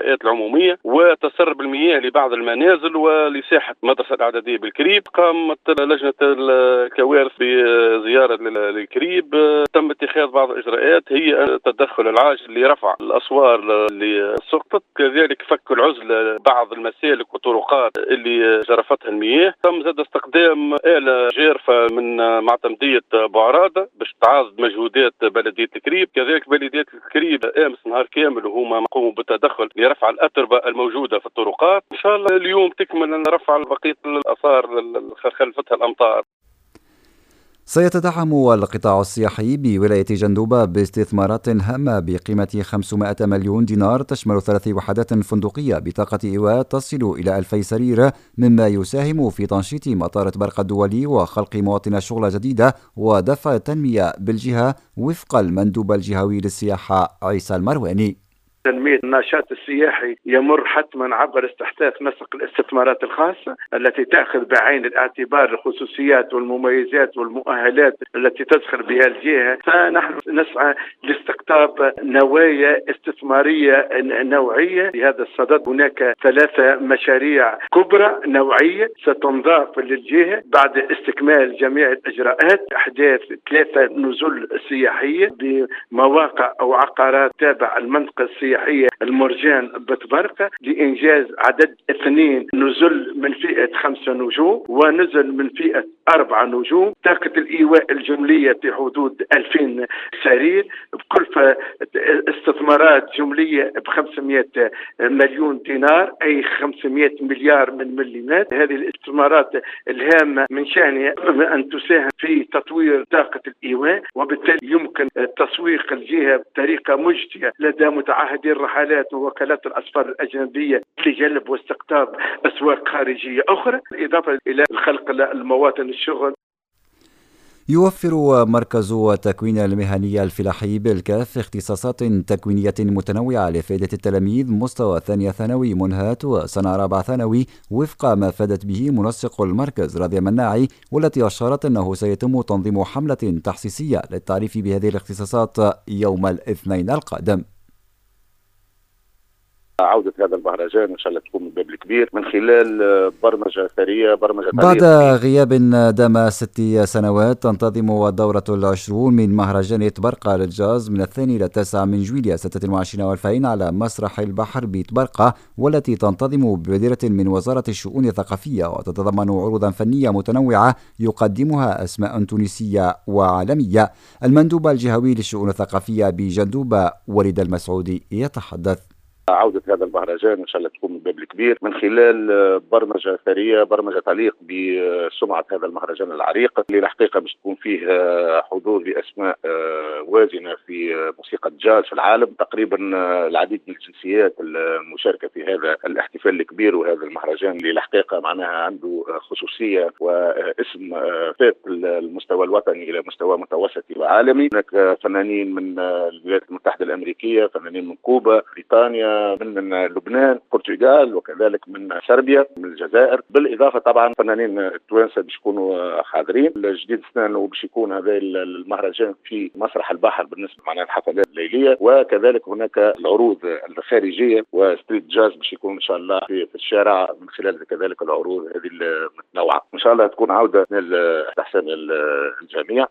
المنشآت العمومية وتسرب المياه لبعض المنازل ولساحة المدرسة الإعدادية بالكريب. قامت لجنة الكوارث بزيارة للكريب، تم اتخاذ بعض الإجراءات هي التدخل العاجل لرفع الأسوار اللي سقطت، كذلك فك العزلة بعض المسالك والطرقات اللي جرفتها المياه. تم زاد استخدام آلة جارفة من معتمدية بوعرادة باش تعاضد مجهودات بلدية الكريب. كذلك بلدية الكريب أمس نهار كامل وهما قوموا بالتدخل لرفع الأتربة الموجودة في الطرقات. إن شاء الله اليوم تكمل رفع بقية الآثار اللي خلفتها الأمطار. سيتدعم القطاع السياحي بولاية جندوبة باستثمارات هامة بقيمة 500 مليون دينار تشمل 3 وحدات فندقية بطاقة إيواء تصل إلى 2000 سرير، مما يساهم في تنشيط مطار طبرقة الدولي وخلق مواطن شغل جديدة ودفع التنمية بالجهة، وفق المندوب الجهوي للسياحة عيسى المرواني. تنمية النشاط السياحي يمر حتما عبر استحداث نسق الاستثمارات الخاصة التي تأخذ بعين الاعتبار الخصوصيات والمميزات والمؤهلات التي تزخر بها الجهة. فنحن نسعى لاستقطاب نوايا استثمارية نوعية. في هذا الصدد هناك 3 مشاريع كبرى نوعية ستنضاف للجهة بعد استكمال جميع الإجراءات. أحداث 3 نزل سياحية بمواقع أو عقارات تابع المنطقة السياحية المرجان بطبرقة لإنجاز عدد 2 نزل من فئة 5 نجوم ونزل من فئة 4 نجوم. طاقة الإيواء الجملية في حدود 2000 سرير بكلفة استثمارات جملية ب500 مليون دينار، أي 500 مليار من مليمات. هذه الاستثمارات الهامة من شأنها أن تساهم في تطوير طاقة الإيواء، وبالتالي يمكن تسويق الجهة بطريقة مجدية لدى متعهدي الرحلات ووكالات الأسفار الأجنبية لجلب واستقطاب أسواق خارجية أخرى، بالإضافة إلى خلق المواطن الشغل. يوفر مركز التكوين المهني الفلاحي بالكاف اختصاصات تكوينية متنوعة لفائدة التلاميذ مستوى ثانية ثانوي منهات وسنة رابعة ثانوي، وفق ما فادت به منسق المركز راضي مناعي، والتي أشارت أنه سيتم تنظيم حملة تحسيسية للتعريف بهذه الاختصاصات يوم الاثنين القادم. عودة هذا المهرجان إن شاء الله تكون من باب الكبير من خلال برمجة ثرية، برمجة بعد غياب دام 6 سنوات. تنتظم الدورة 20 من مهرجان طبرقة للجاز من 2 إلى 9 من جويلية 26 و2000 على مسرح البحر بطبرقة، والتي تنتظم ببادرة من وزارة الشؤون الثقافية وتتضمن عروضا فنية متنوعة يقدمها أسماء تونسية وعالمية. المندوب الجهوي للشؤون الثقافية بجندوبة وليد المسعودي يتحدث. عودة هذا المهرجان إن شاء الله تكون من باب الكبير من خلال برمجة ثرية، برمجة تليق بسمعة هذا المهرجان العريق اللي الحقيقة باش تكون فيه حضور لأسماء وازنة في موسيقى الجاز في العالم. تقريبا العديد من الجنسيات المشاركة في هذا الاحتفال الكبير وهذا المهرجان اللي الحقيقة معناها عنده خصوصية واسم فات المستوى الوطني إلى مستوى متوسطي وعالمي. هناك فنانين من الولايات المتحدة الأمريكية، فنانين من كوبا، بريطانيا، من لبنان، البرتغال، وكذلك من صربيا، من الجزائر، بالاضافة طبعا فنانين التوانسة باش يكونوا حاضرين. الجديد السنة باش يكون هذا المهرجان في مسرح البحر بالنسبة معناها الحفلات الليلية، وكذلك هناك العروض الخارجية و street jazz باش يكون ان شاء الله في الشارع من خلال كذلك العروض هذه المتنوعة. ان شاء الله تكون عوده تحسن الجميع.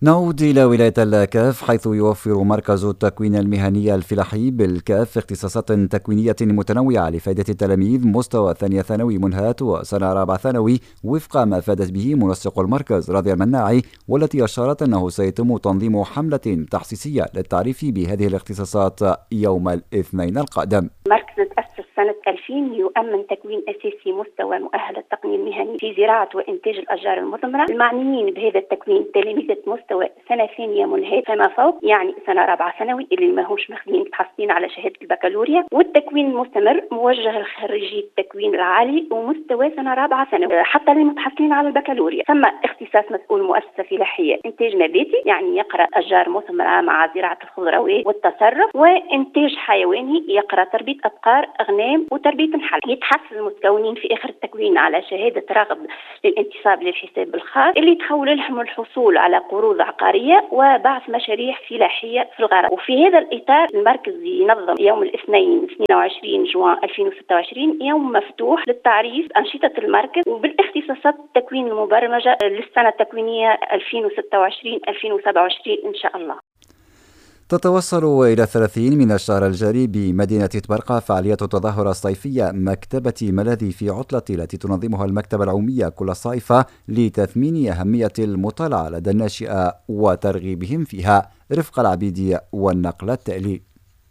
نعود إلى ولاية الكاف، حيث يوفر مركز التكوين المهني الفلاحي بالكاف اختصاصات تكوينية متنوعة لفائدة التلاميذ مستوى ثانية ثانوي منهات وسنة رابعة ثانوي، وفق ما فادت به منسق المركز راضي المناعي، والتي أشارت أنه سيتم تنظيم حملة تحسيسية للتعريف بهذه الاختصاصات يوم الاثنين القادم. مركز تأسس سنة 2000 يؤمن تكوين أساسي مستوى مؤهل التقني المهني في زراعة وإنتاج الأشجار المثمرة. المعنيين بهذا التكوين تلاميذ مستوى سنة ثانية منهات فما فوق، يعني سنة رابعة ثانوي اللي ماهوش ماخذين متحصلين على شهادة البكالوريا، والتكوين المستمر موجه لخريجي التكوين العالي ومستوى سنة رابعة ثانوي حتى اللي متحصلين على البكالوريا. ثم اختصاص مسؤول مؤسسة فلاحية إنتاج نباتي، يعني يقرأ أشجار مثمرة مع زراعة الخضروات والتصرف، وإنتاج حيواني يقرأ تربية أبقار، أغنام العام وتربية نحل. يتحصل المتكونين في آخر التكوين على شهادة رغب للانتصاب للحساب الخاص اللي تخول لهم الحصول على قروض عقارية وبعث مشاريع فلاحية في الغرب. وفي هذا الإطار المركز ينظم يوم الاثنين 22 جوان 2026 يوم مفتوح للتعريف أنشطة المركز وبالاختصاصات التكوين المبرمجة للسنة التكوينية 2026-2027 إن شاء الله. تتوصل إلى 30 من الشهر الجاري بمدينة طبرقة فعالية التظاهرة الصيفية مكتبة ملاذي في عطلة التي تنظمها المكتبة العمومية كل صيف لتثمين أهمية المطالعة لدى الناشئة وترغيبهم فيها. رفق العبيدي والنقل التالي.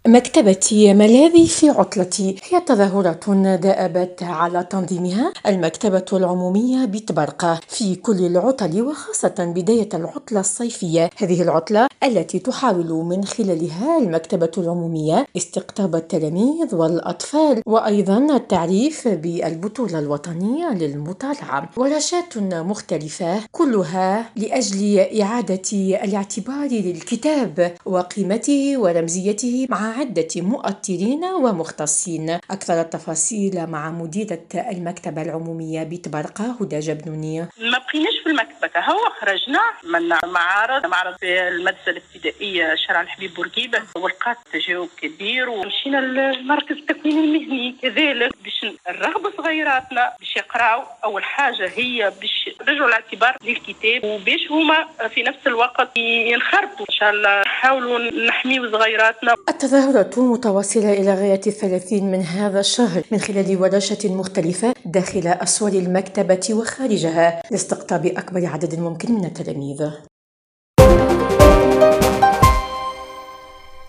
مكتبة ملاذي في عطلتي هي تظاهرة دأبت على تنظيمها المكتبة العمومية بطبرقة في كل العطل وخاصة بداية العطلة الصيفية. هذه العطلة التي تحاول من خلالها المكتبة العمومية استقطاب التلاميذ والأطفال وأيضا التعريف بالبطولة الوطنية للمطالعة، ورشات مختلفة كلها لأجل إعادة الاعتبار للكتاب وقيمته ورمزيته مع عدة مؤطرين ومختصين. أكثر التفاصيل مع مديرة المكتبة العمومية بطبرقة هدى جبنوني. ما بقيناش في المكتبة، هو خرجنا من معرض في المدرسة الابتدائية شارع الحبيب بورقيبة ولقات تجاوب كبير، ومشينا للمركز التكوين المهني كذلك باش نرغبوا صغيراتنا باش يقراو. أول حاجة هي باش رجعوا الاعتبار للكتاب وباش هما في نفس الوقت ينخرطوا. إن شاء الله نحاولوا نحميوا صغيراتنا. التظاهرة متواصلة إلى غاية 30 من هذا الشهر من خلال ورشة مختلفة داخل أسوار المكتبة وخارجها لاستقطاب أكبر عدد ممكن من التلاميذ.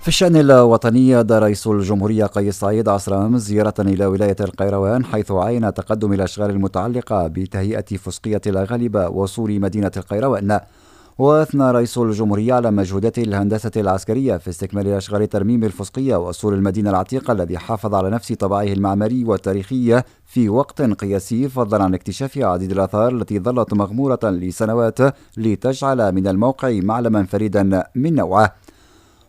في الشأن الوطني، أدى رئيس الجمهورية قيس سعيد عصر أمس زيارة إلى ولاية القيروان، حيث عاين تقدم الأشغال المتعلقة بتهيئة فسقية الأغالبة وسور مدينة القيروان. وأثنى رئيس الجمهورية على مجهودات الهندسة العسكرية في استكمال أشغال ترميم الفسقية وسور المدينة العتيقة الذي حافظ على نفس طبعه المعماري والتاريخي في وقت قياسي، فضلا عن اكتشاف عديد الآثار التي ظلت مغمورة لسنوات لتجعل من الموقع معلما فريدا من نوعه.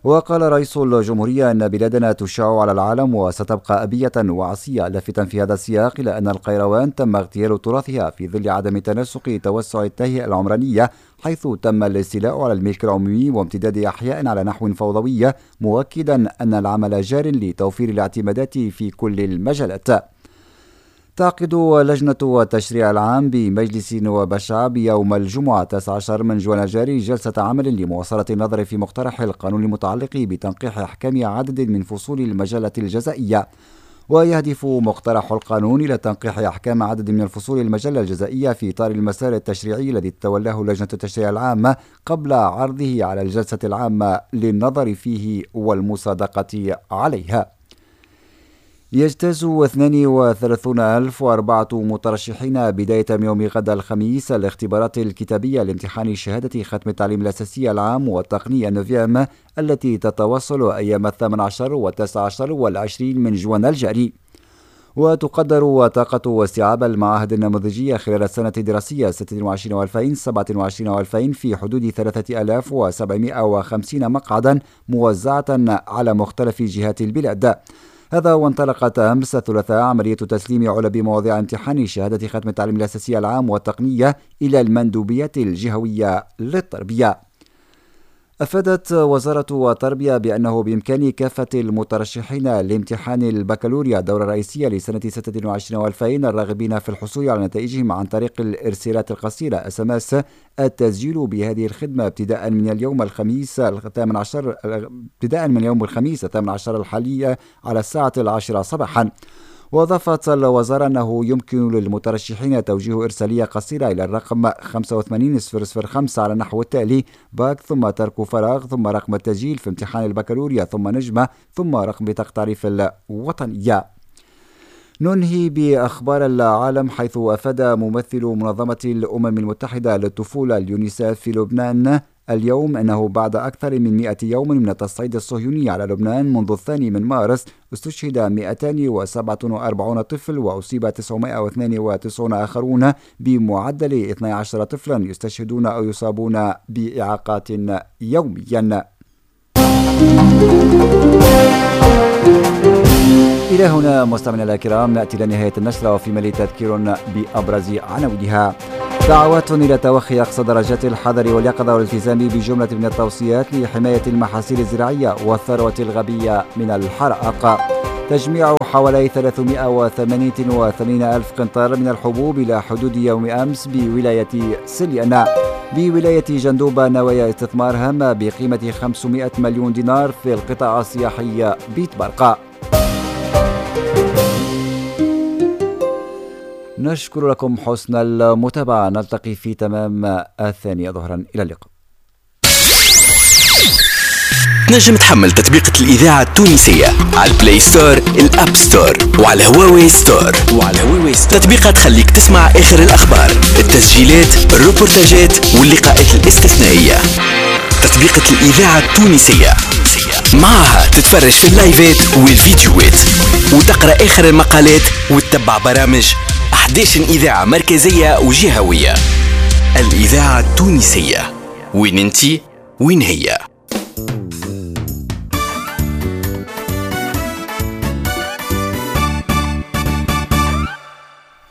وقال رئيس الجمهورية أن بلادنا تشع على العالم وستبقى أبية وعصية، لافتا في هذا السياق إلى أن القيروان تم اغتيال تراثها في ظل عدم تناسق توسع التهيئة العمرانية، حيث تم الاستيلاء على الملك العمومي وامتداد أحياء على نحو فوضوي، مؤكدا أن العمل جار لتوفير الاعتمادات في كل المجالات. تعقد لجنة التشريع العام بمجلس نواب الشعب يوم الجمعة 19 من جوان الجاري جلسة عمل لمواصلة النظر في مقترح القانون المتعلق بتنقيح أحكام عدد من فصول المجلة الجزائية. ويهدف مقترح القانون إلى تنقيح أحكام عدد من الفصول المجلة الجزائية في إطار المسار التشريعي الذي تولاه لجنة التشريع العام قبل عرضه على الجلسة العامة للنظر فيه والمصادقة عليها. يجتاز 32,004 مترشحين بداية يوم غد الخميس الاختبارات الكتابية لامتحان شهادة ختم التعليم الأساسي العام والتقنية neuvième التي تتواصل أيام 18 و19 و20 من جوان الجاري. وتقدر طاقة واستيعاب المعاهد النموذجية خلال السنة الدراسية 26-2027 في حدود 3750 مقعدا موزعة على مختلف جهات البلاد. هذا وانطلقت أمس الثلاثاء عملية تسليم علب مواضيع امتحان شهادة ختم التعليم الأساسي العام والتقنية إلى المندوبيات الجهوية للتربية. أفادت وزارة التربية بأنه بإمكان كافة المترشحين لامتحان البكالوريا الدورة الرئيسية لسنة 2026 الراغبين في الحصول على نتائجهم عن طريق الإرسالات القصيرة SMS التسجيل بهذه الخدمة ابتداء من اليوم الخميس 18 ابتداء من يوم الخميس 18 الحالية على الساعة 10 صباحا. وأضافت الوزارة أنه يمكن للمترشحين توجيه إرسالية قصيرة إلى الرقم 85005 على النحو التالي: باك ثم ترك فراغ ثم رقم التسجيل في امتحان البكالوريا ثم نجمة ثم رقم بطاقة التعريف الوطنية. ننهي بأخبار العالم، حيث أفاد ممثل منظمة الأمم المتحدة للطفولة اليونيسف في لبنان اليوم أنه بعد أكثر من 100 يوم من التصعيد الصهيوني على لبنان منذ 2 مارس استشهد 247 طفل وأصيب 992 آخرون بمعدل 12 طفلا يستشهدون أو يصابون بإعاقات يوميا. إلى هنا مستمعينا الكرام نأتي لنهاية النشرة، وفي مالي تذكير بأبرز عناوينها. دعوات إلى توخي أقصى درجات الحذر واليقظة والالتزام بجملة من التوصيات لحماية المحاصيل الزراعية والثروة الغابية من الحرائق. تجميع حوالي 388 ألف قنطار من الحبوب إلى حدود يوم أمس بولاية سليانة. بولاية جندوبة نوايا استثمار هامة بقيمة 500 مليون دينار في القطاع السياحي بطبرقة. نشكر لكم حسن المتابعة، نلتقي في تمام 2 ظهرا، إلى اللقاء. تنجم تحمل تطبيقة الإذاعة التونسية على ال Play Store، ال App Store، وعلى هواوي Store. تطبيقة تخليك تسمع آخر الأخبار، التسجيلات، الروبورتاجات واللقاءات الاستثنائية. تطبيقة الإذاعة التونسية معها تتفرج في اللايفات والفيديوهات وتقرأ آخر المقالات وتتبع برامج 11 إذاعة مركزية وجهوية. الإذاعة التونسية، وين انتي وين هي.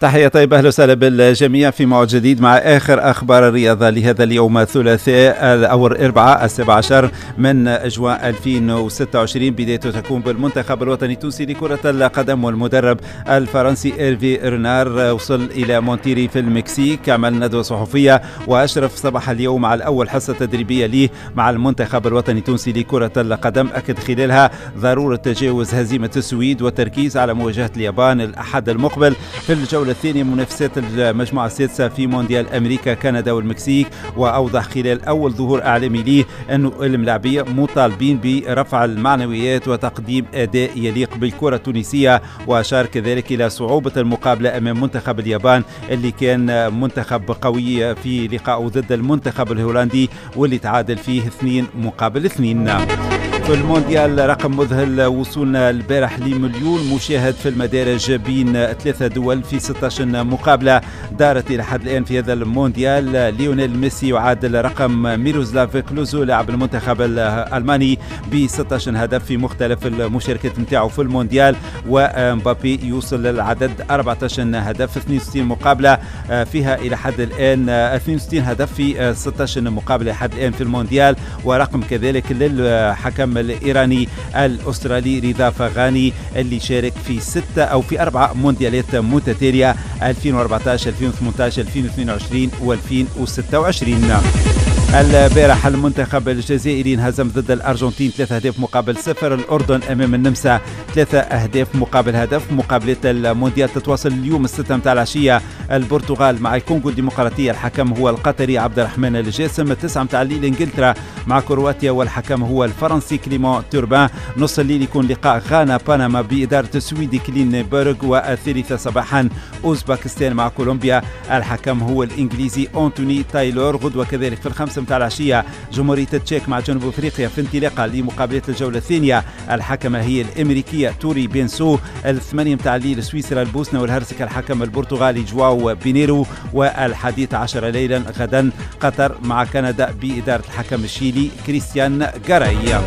تحية طيبة، أهلا وسهلا بالجميع في موعد جديد مع آخر أخبار الرياضة لهذا اليوم الثلاثاء أو الأربعاء 17 من جوان 2026. بدايته تكون بالمنتخب الوطني التونسي لكرة القدم والمدرب الفرنسي إيرفي رينار وصل إلى مونتيري في المكسيك، عمل ندوة صحفية وأشرف صباح اليوم على أول حصة تدريبية ليه مع المنتخب الوطني التونسي لكرة القدم، أكد خلالها ضرورة تجاوز هزيمة السويد والتركيز على مواجهة اليابان الأحد المقبل في الجولة الثانية منافسات المجموعة السادسة في مونديال أمريكا كندا والمكسيك. وأوضح خلال أول ظهور إعلامي ليه أنه الملاعبية مطالبين برفع المعنويات وتقديم أداء يليق بالكرة التونسية، وأشار كذلك إلى صعوبة المقابلة أمام منتخب اليابان اللي كان منتخب قوي في لقائه ضد المنتخب الهولندي واللي تعادل فيه 2-2. في المونديال رقم مذهل، وصولنا البارح ل1 مليون مشاهد في المدارج بين 3 دول في 16 مقابلة دارت إلى حد الآن في هذا المونديال. ليونيل ميسي يعادل رقم ميروسلاف كلوزو لاعب المنتخب الألماني ب 16 هدف في مختلف المشاركات نتاعو في المونديال، ومبابي يوصل للعدد 14 هدف 62 مقابلة فيها إلى حد الآن، 62 هدف في 16 مقابلة حد الآن في المونديال. ورقم كذلك للحكم الإيراني الأسترالي رضا فغاني اللي شارك في 6 أو في 4 مونديالات متتالية 2014 2018 2022 و2026. البارح المنتخب الجزائري انهزم ضد الأرجنتين 3 أهداف مقابل 0، الأردن أمام النمسا 3 أهداف مقابل هدف. مقابلة المونديال تتواصل اليوم 6 متاع العشية، البرتغال مع الكونغو الديمقراطية، الحكم هو القطري عبد الرحمن الجاسم. 9 متاع الليل إنجلترا مع كرواتيا والحكم هو الفرنسي كليمون توربان. نص الليل يكون لقاء غانا بنما بإدارة السويدي كلينبرغ، والثالثة صباحا أوزباكستان مع كولومبيا، الحكم هو الإنجليزي أنتوني تايلور. غدوة كذلك في 5 متاع العشية جمهورية التشيك مع جنوب افريقيا في انطلاقة لمقابلة الجولة الثانية، الحكمة هي الأمريكية توري بينسو. 8 متاع الليل سويسرا البوسنة والهرسك، الحكم البرتغالي جواو بينيرو. و11 ليلا غدا قطر مع كندا بإدارة الحكم الشيلي كريستيان غاراي.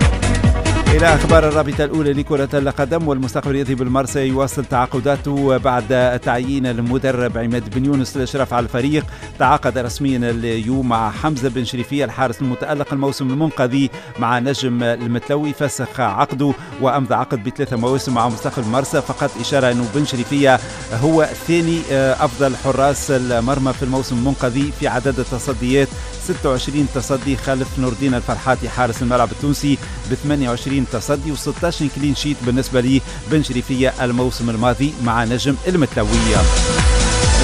إلى أخبار الرابطة الأولى لكرة القدم، والمستقبل الرياضي بالمرسى يواصل تعاقداته بعد تعيين المدرب عماد بن يونس للإشراف على الفريق. تعاقد رسميا اليوم مع حمزة بن شريفية الحارس المتألق الموسم المنقضي مع نجم المتلوي، فسخ عقده وأمضى عقد ب3 مواسم مع مستقبل المرسى. فقط إشارة أنه بن شريفية هو ثاني أفضل حراس المرمى في الموسم المنقضي في عدد التصديات، 26 تصدي خلف نور الدين الفرحاتي حارس الملعب التونسي ب 28 تصدي و16 clean sheet بالنسبة لي بن شريفية الموسم الماضي مع نجم المتلوية.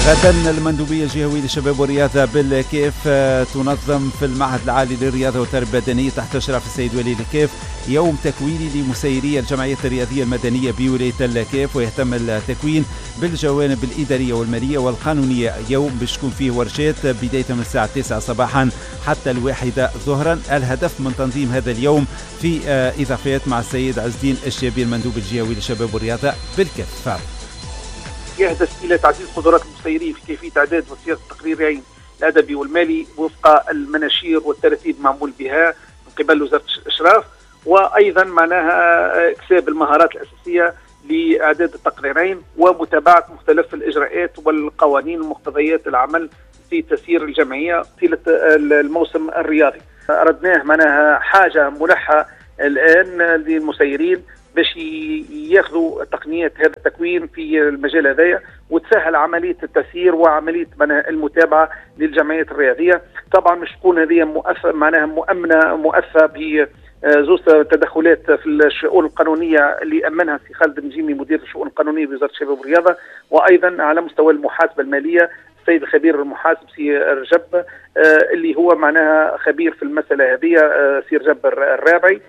غدا المندوبية الجهوية للشباب والرياضة بالكيف تنظم في المعهد العالي للرياضة والتربية البدنية تحت إشراف السيد ولي الكيف يوم تكويني لمسيري الجمعية الرياضية المدنية بولاية الكيف، ويهتم التكوين بالجوانب الإدارية والمالية والقانونية. يوم باش تكون فيه ورشات بداية من الساعة 9 صباحا حتى 1 ظهرا. الهدف من تنظيم هذا اليوم في إضافات مع السيد عز الدين الشابي المندوب الجهوي للشباب والرياضة بالكيف. يهدف إلى تعزيز قدرات المسيرين في كيفية إعداد وصياغة التقريرين الأدبي والمالي وفق المناشير والترتيب معمول بها من قبل وزارة الإشراف، وأيضا معناها اكتساب المهارات الأساسية لاعداد التقريرين ومتابعة مختلف الاجراءات والقوانين ومقتضيات العمل في تسيير الجمعية طيلة الموسم الرياضي. اردناه معناها حاجة ملحة الان للمسيرين باش ياخذوا تقنيات هذا التكوين في المجال هذايا، وتسهل عملية التسيير وعملية المتابعة للجمعيات الرياضية. طبعا مش تكون هذه معناها مؤمنة مؤثرة ب زوج تدخلات في الشؤون القانونية اللي امنها سي خالد النجيمي مدير الشؤون القانونية بوزارة الشباب والرياضة، وايضا على مستوى المحاسبة المالية السيد الخبير المحاسب سي رجب اللي هو معناها خبير في المسالة هذه، سي رجب الرابعي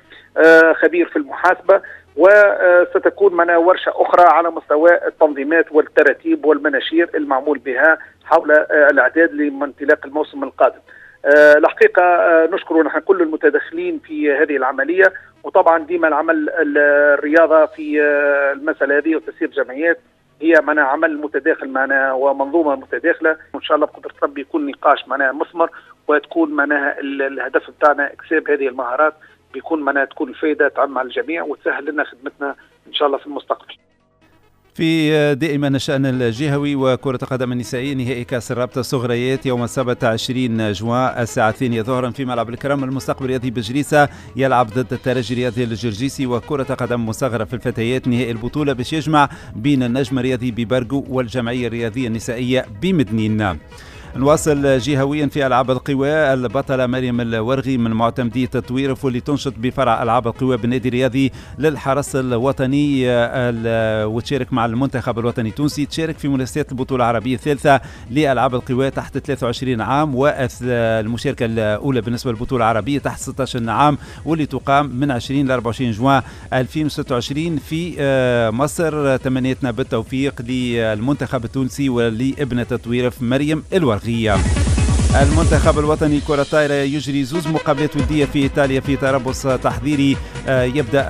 خبير في المحاسبة. وستكون معنا ورشة أخرى على مستوى التنظيمات والتراتيب والمناشير المعمول بها حول الإعداد لانطلاق الموسم القادم. الحقيقة نشكر نحن كل المتدخلين في هذه العملية، وطبعا ديما العمل الرياضة في المسألة هذه وتسيير جمعيات هي معنا عمل متداخل معنا ومنظومة متداخلة، وإن شاء الله بقدرة ربي يكون نقاش معنا مثمر، وتكون معناها الهدف بتاعنا إكساب هذه المهارات، بيكون معناها تكون الفائدة تعم على الجميع وتسهل لنا خدمتنا إن شاء الله في المستقبل. في دائما الشأن الجهوي وكرة القدم النسائية، نهائي كأس الرابطة الصغريات يوم السبت 20 جوان الساعة 2 ظهرا في ملعب الكرم. المستقبل الرياضي بجريسة يلعب ضد الترجي الرياضي الجرجيسي. وكرة قدم مصغرة في الفتيات، نهائي البطولة باش يجمع بين النجم الرياضي ببرقو والجمعية الرياضية النسائية بمدنين. نواصل جهويا في ألعاب القوى، البطلة مريم الورغي من معتمدية الطويرف واللي تنشط بفرع ألعاب القوى بالنادي الرياضي للحرس الوطني وتشارك مع المنتخب الوطني التونسي، تشارك في منافسات البطولة العربية الثالثة لألعاب القوى تحت 23 عام، والمشاركة الأولى بالنسبة للبطولة العربية تحت 16 عام واللي تقام من 20 ل 24 جوان 2026 في مصر. تمنيتنا بالتوفيق للمنتخب التونسي ولابنة الطويرف مريم الورغي. المنتخب الوطني كرة الطائرة يجري زوز مقابلات ودية في إيطاليا في تربص تحضيري يبدأ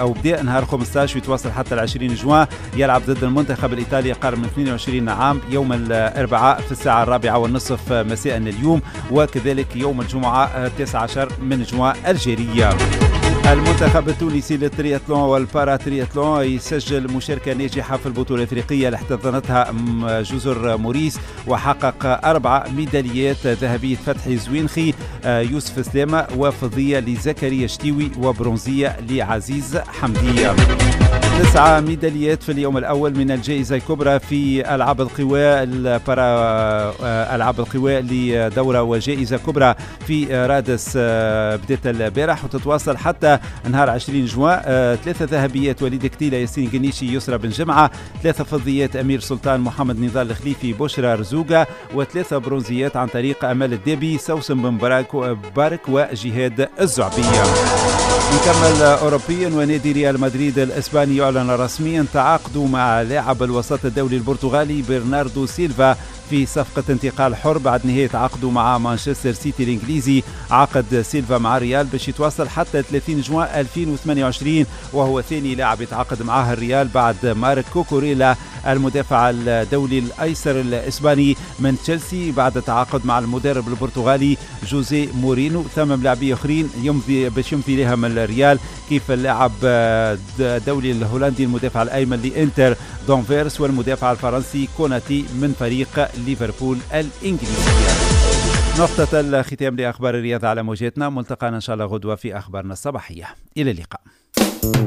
أو بدأ نهار 15 ويتواصل حتى 20 جوان. يلعب ضد المنتخب الإيطالي قرن من 22 عام يوم الأربعاء في الساعة 4:30 مساء اليوم، وكذلك يوم الجمعة 19 من جوان الجيرية. المنتخب التونسي للترياتلون والباراترياتلون يسجل مشاركة ناجحة في البطولة الأفريقية اللي احتضنتها جزر موريس، وحقق 4 ميداليات ذهبية فتحي زوينخي، يوسف سلامة، وفضية لزكريا شتيوي، وبرونزية لعزيز حمدية. 9 ميداليات في اليوم الأول من الجائزة الكبرى في ألعاب القوى البارا ألعاب القوى لدورة وجائزة كبرى في رادس بدأت البارح وتتواصل حتى نهار 20 جوان. 3 ذهبيات وليد كتيلة، ياسين قنيشي، يسرى بن جمعة، 3 فضيات أمير سلطان، محمد نضال الخليفي، بشرى رزوقة، و3 برونزيات عن طريق أمال الدبي، سوسن بن بارك، وجهاد الزعبية. نكمل أوروبيا، ونادي ريال مدريد الإسباني يعلن رسميا تعاقده مع لاعب الوسط الدولي البرتغالي برناردو سيلفا في صفقة انتقال حر بعد نهاية عقده مع مانشستر سيتي الإنجليزي. عقد سيلفا مع ريال باش يتواصل حتى 30 جوان 2028، وهو ثاني لاعب يتعاقد معاه الريال بعد مارك كوكوريلا المدافع الدولي الأيسر الإسباني من تشيلسي بعد تعاقد مع المدرب البرتغالي جوزي مورينو. ثم لاعبين آخرين يمضي باش يمضي لهم الريال كيف اللاعب الدولي الهولندي المدافع الأيمن لإنتر دونفيرس، والمدافع الفرنسي كوناتي من فريق ليفربول الإنجليزي. نقطة الختام لأخبار الرياضة على موجاتنا، ملتقانا إن شاء الله غدوة في أخبارنا الصباحية. إلى اللقاء.